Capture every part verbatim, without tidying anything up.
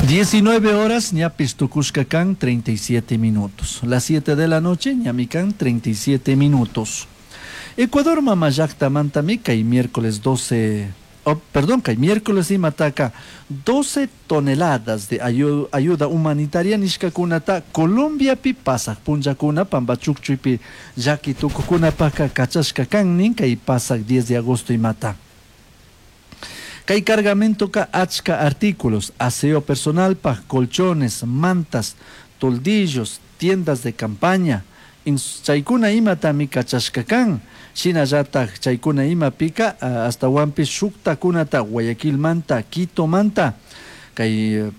Diecinueve horas, ñapish tucushca can treinta y siete minutos. Las siete de la noche, ñami can treinta y siete minutos. Ecuador mama llaktamantami kay miércoles doce, oh, perdón, kay miércoles imataka doce toneladas de ayuda humanitaria nishkakunata Colombiapi pasak punllakuna pambachukchuypi llaki tukukunapaka kachashka kan nin kay pasak diez de agosto imata. Kay cargamentoka achka artículos, aseo personalpaj, colchones, mantas, toldillos, tiendas de campaña, chaykuna imatami kachashka kan. Shinallataj chaykuna imapika ashtawanpish shuktakunata Guayaquilmanta, Quitomanta, kay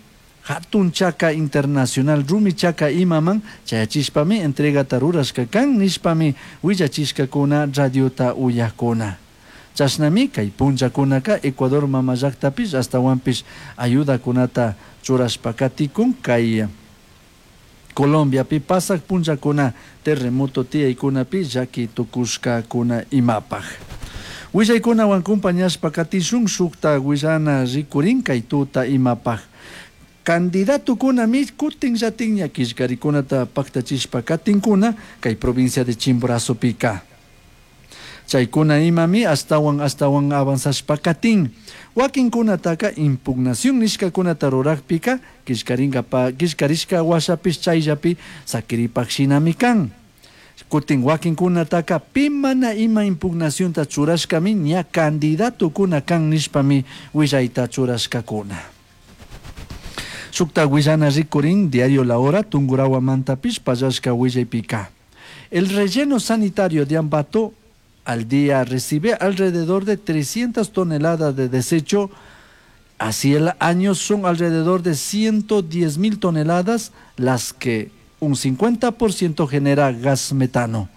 hatun chaka internacional Rumi Chaka imaman chayachishpami entregata rurashka kan nishpami willachishkakuna radiota uyakuna. Chashnami kay punllakunaka Ecuador mama llaktapish ashtawanpish ayudakunata churashpa katikun kay Colombiapi pasak punllakuna terremoto tiyaykunapi llaki tukushkakuna imapaj. Willaykunawan compañashpa katishun. Shukta willana rikurin kay tuta imapaj. Candidatokunami kutin llatinña killkarikunata paktachishpa katinkuna kay provincia de Chimborazopika. Chaykuna imami ashtawan ashtawan avanzashpa katin. Wakinkunataka impugnación nishkakunata rurakpika killkarinkapa killkarishka washapish chayllapi sakiripak shinami kan. Kutin wakinkunataka pi mana ima impugnacionta churashkami ña candidatokuna kan nishpami willayta churashkakuna. Shukta willana rikurin diario La Hora Tungurahuamantapish pallashka willaypika. El relleno sanitario de Ambato al día recibe alrededor de trescientas toneladas de desecho. Así el año son alrededor de ciento diez mil toneladas, las que un cincuenta por ciento genera gas metano.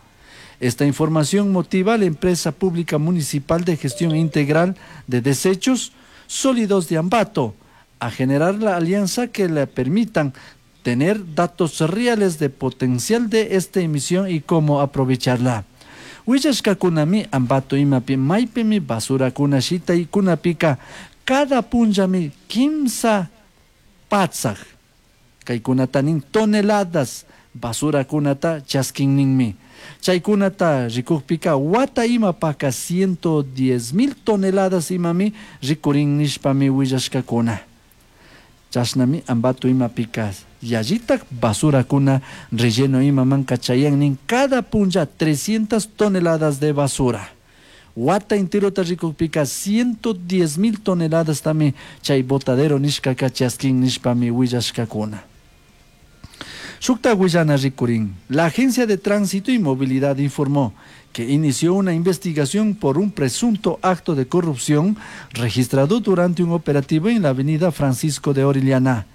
Esta información motiva a la empresa pública municipal de gestión integral de desechos sólidos de Ambato a generar la alianza que le permitan tener datos reales de potencial de esta emisión y cómo aprovecharla. Willashkakunami Ambato imapi maypimi basurakuna shitaykunapika cada punllami kimsa patsak kaykunata nin toneladas basurakunata chaskin ninmi. Chaykunata rikukpika wata imapaka ciento diez mil toneladas imami rikurin nishpami willashkakuna. Chashnami Ambato imapika yallitak basurakuna relleno imamanka chayan nin cada punlla trescientas toneladas de basura. Wata enterota rikukpika ciento diez mil toneladas tami chay botadero nishkaka chaskin nishpami willashkakuna. Shukta willana rikurin. La Agencia de Tránsito y Movilidad informó que inició una investigación por un presunto acto de corrupción registrado durante un operativo en la avenida Francisco de Orellana.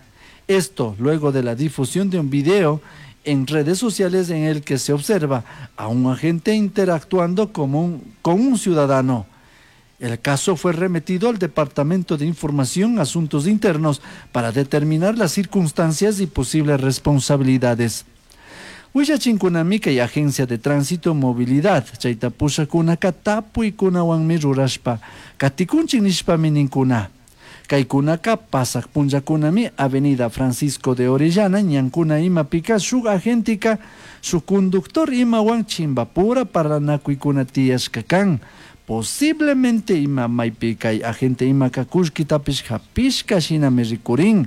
Esto luego de la difusión de un video en redes sociales en el que se observa a un agente interactuando con un, con un ciudadano. El caso fue remitido al Departamento de Información Asuntos Internos para determinar las circunstancias y posibles responsabilidades. Willachinkunami kay Agencia de Tránsito Movilidad chayta pushakunaka tapuykunawanmi rurashpa katikunchik nishpami ninkuna. Kaykunaka pasak punllakunami Avenida Francisco de Orellana ñankuna imapika shuk agentika shuk conductor imawan chimbapura parlanakuykuna tiyashka kan. Posiblemente ima maypi kay agente imaka kullkitapish hapishka shinami rikurin.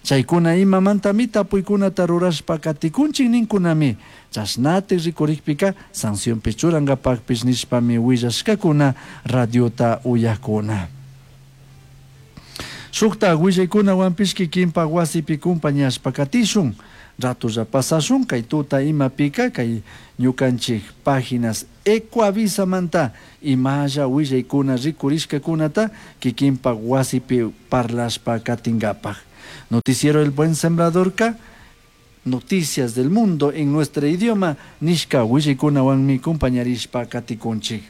Chaykuna imamantami tapuykunata rurashpa katikunchik ninkunami. Chashnati rikurikpika sancionpi churankapakpish nishpami willashkakuna radiota uyakuna. Shukta willaykunawanpish kikinpak wasipi kumpañashpa katishun. Ratulla pasashun kay tuta imapika kay ñukanchik páginas Ecuavisamanta imalla willaykuna rikurishkakunata kikinpak wasipi parlashpa katinkapak. Noticiero El Buen Sembradorka noticias del mundo en nuestro idioma nishka willaykunawanmi kumpañarishpa katikunchik.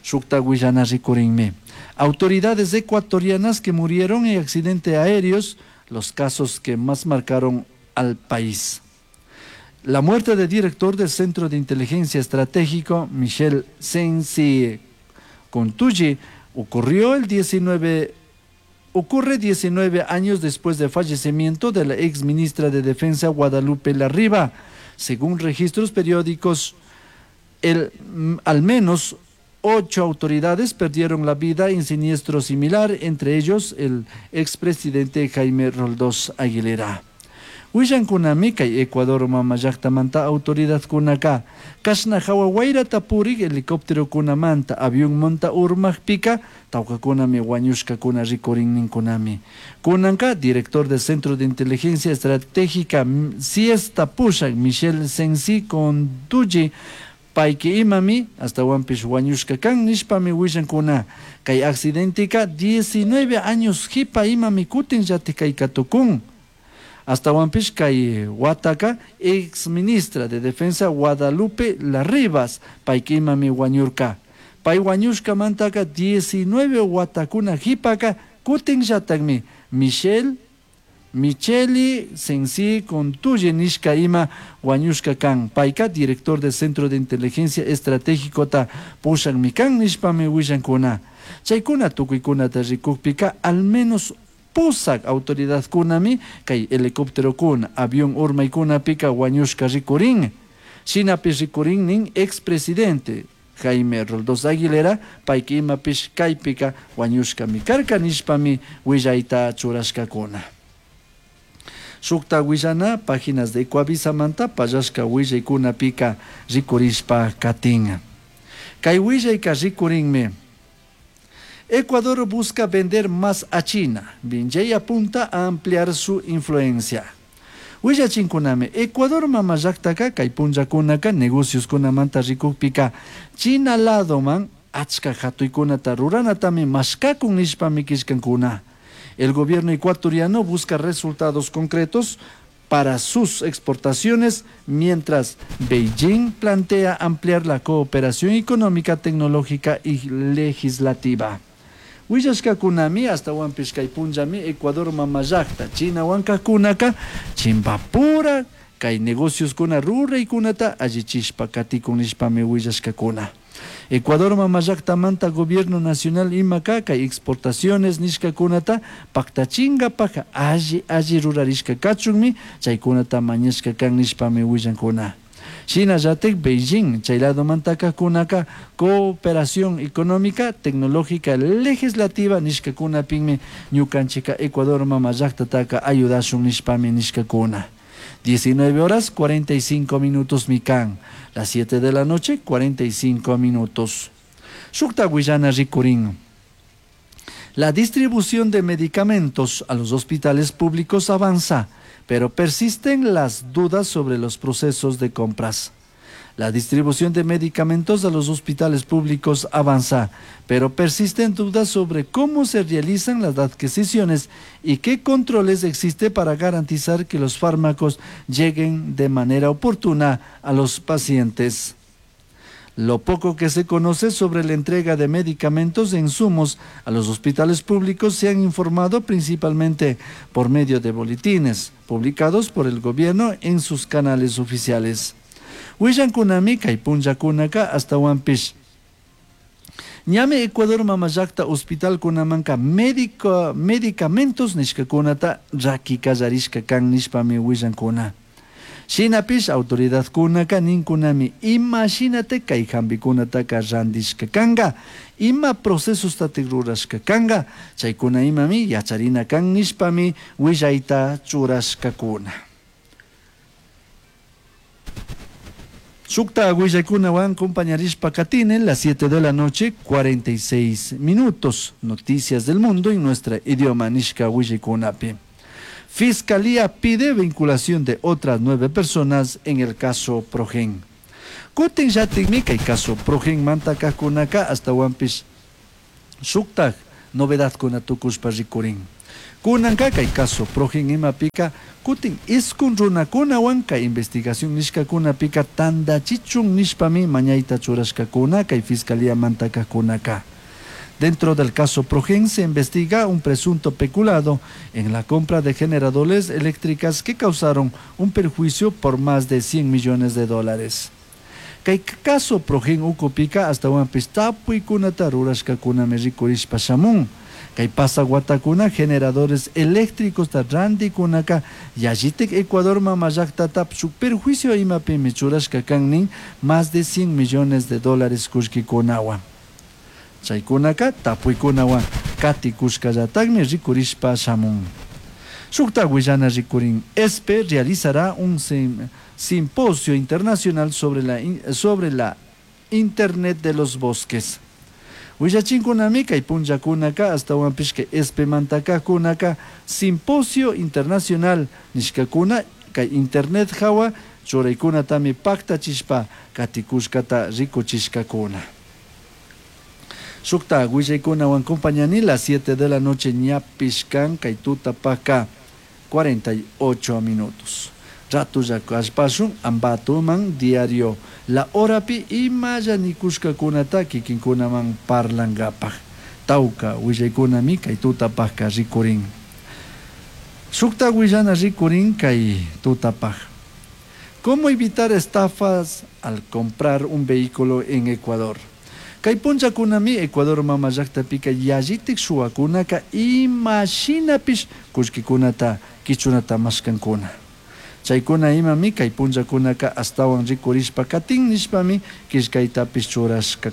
Shukta willana rikurinmi. Autoridades ecuatorianas que murieron en accidentes aéreos, los casos que más marcaron al país. La muerte del director del Centro de Inteligencia Estratégico, Michel Sensi Contucci, ocurrió el diecinueve Ocurre diecinueve años después del fallecimiento de la ex ministra de Defensa Guadalupe Larriva. Según registros periódicos, el, al menos ocho autoridades perdieron la vida en siniestro similar, entre ellos el expresidente Jaime Roldós Aguilera. Willankunami kay Ecuador mama llaktamanta autoridadkunaka kashna hawa wayrata purik helicópterokunamanta avionmanta urmakpika tawkakunami wañushkakuna rikurin ninkunami. Kunanka director del Centro de Inteligencia Estratégica CIESta pushak Michel Sensi Contucci payki imami astawanpish wañushka kan nishpami willankuna. Kay accidentika diecinueve años hipa imami kutin llatik kayka tukun. Astawanpish kay wataka ex ministra de Defensa Guadalupe Larrivas payki imami wañurka. Pay wañushkamantaka diecinueve watakuna hipaka kutin llatakmi Michel Micheli Sensi Contuye nishka ima wañushka kan. Payka director del Centro de Inteligencia Estratégico ta pushakmi kan nishpami willankuna. Chaykuna tukuykunata rikukpika al menos pusak autoridadkunami kay helicópterokuna avión urmaykunapika wañushka rikurin. Shinapish rikurin nin expresidente Jaime Roldós Aguilera payki imapish kaypika wañushkami karka nishpami willayta churashkakuna. Shukta willana páginas de Ecuavisamanta pallashka willaykunapika rikurishpa katin. Kay willayka rikurinmi. Ecuador busca vender más a China. Beijing apunta a ampliar su influencia. Willachinkunami Ecuador mama llaktaka kay punllakunaka negocioskunamanta rikukpika China ladoman achka hatuykunata ruranatami mashkakun nishpami killkankuna. El gobierno ecuatoriano busca resultados concretos para sus exportaciones, mientras Beijing plantea ampliar la cooperación económica, tecnológica y legislativa. Willashkakunami astawanpish kay punllami Ecuador mama llakta China wankakunaka chimpapura kay negocioskuna ruraykunata allichishpa katikun nishpami willashkakuna. Ecuador mama llaktamanta gobierno nacional imaka kay exportaciones nishkakunata paktachinkapak alli alli rurarishka kachunmi chaykunata mañashka kan nishpami willankuna. Shinallatik Beijing chay ladomantaka kunaka cooperación económica, tecnológica, legislativa nishkakunapinmi ñukanchika Ecuador mama llaktataka ayudashun nishpami nishkakuna. diecinueve horas cuarenta y cinco minutos mikan, las siete de la noche cuarenta y cinco minutos. Shukta willana rikurin. La distribución de medicamentos a los hospitales públicos avanza, pero persisten las dudas sobre los procesos de compras. La distribución de medicamentos a los hospitales públicos avanza, pero persisten dudas sobre cómo se realizan las adquisiciones y qué controles existe para garantizar que los fármacos lleguen de manera oportuna a los pacientes. Lo poco que se conoce sobre la entrega de medicamentos e insumos a los hospitales públicos se han informado principalmente por medio de boletines publicados por el gobierno en sus canales oficiales. Willankunami kay punllakunaka astawanpish. Ñami Ecuador mama llakta hospitalkunamanka médico, medicamentos nishkakunata raki kallarishka kan nishpami willankuna. Shinapish autoridadkunaka ninkunami ima shinate kay hampikunataka randishka kanka, ima procesostatik rurashka kanka, chaykuna imami yacharina kan nishpami willayta churashkakuna. Shukta willaykunawan compañarishpa katinen las siete de la noche, cuarenta y seis minutos. Noticias del mundo en nuestra idioma nishka willaykunapi. Fiscalía pide vinculación de otras nueve personas en el caso Progen. Kutin yatikmi kay caso Progen manta kajkunaka astawanpish shuktaj novedadkuna tukushpa rikurin. Kunanka kay caso Progen imapika kutin iskun runakunawan kay investigación nishkakunapika tandachichun nishpami mañayta churashkakuna kay fiscalía manta kajkunaka. Dentro del caso Progen se investiga un presunto peculado en la compra de generadores eléctricas que causaron un perjuicio por más de cien millones de dólares. Kay caso Progen ukupika astawanpish tapuykunata rurashkakunami rikurishpa shamun. Kay pasaq watakuna generadores eléctricosta rantikunaka yallitik Ecuador mama llaktata shuk perjuicio imapimi churashka kan nin más de cien millones de dólares kullkikunawan. Chaykunaka tapuykunawan katikushkallatakmi rikurishpa shamun. Shukta willana rikurin ESPE realizará un simposio internacional sobre la, sobre la Internet de los Bosques. Willachinkunami kay punllakunaka ashtawanpish kay ESPEmantakakunaka simposio internacional nishkakuna kay internet hawa churaykunatami paktachishpa katikushkata rikuchishkakuna. Shukta willaykunawan compañani las siete de la noche ñapish kan kay tutapaka cuarenta y ocho minutos. Ratulla kallpashun Ambatoman diario La Horapi imalla nikushkakunata kikinkunaman parlankapaj. Tawka willaykunami kay tutapajka rikurin. Shukta willana rikurin kay tutapaj. ¿Cómo evitar estafas al comprar un vehículo en Ecuador? Kay punllakunami Ecuador mama llaktapika yallitik shuwakunaka imashinapish kullkikunata kichunata mashkankuna. Chaykuna imami kay punllakunaka ashtawan rikurishpa katin nishpami killkaytapish churashkakuna.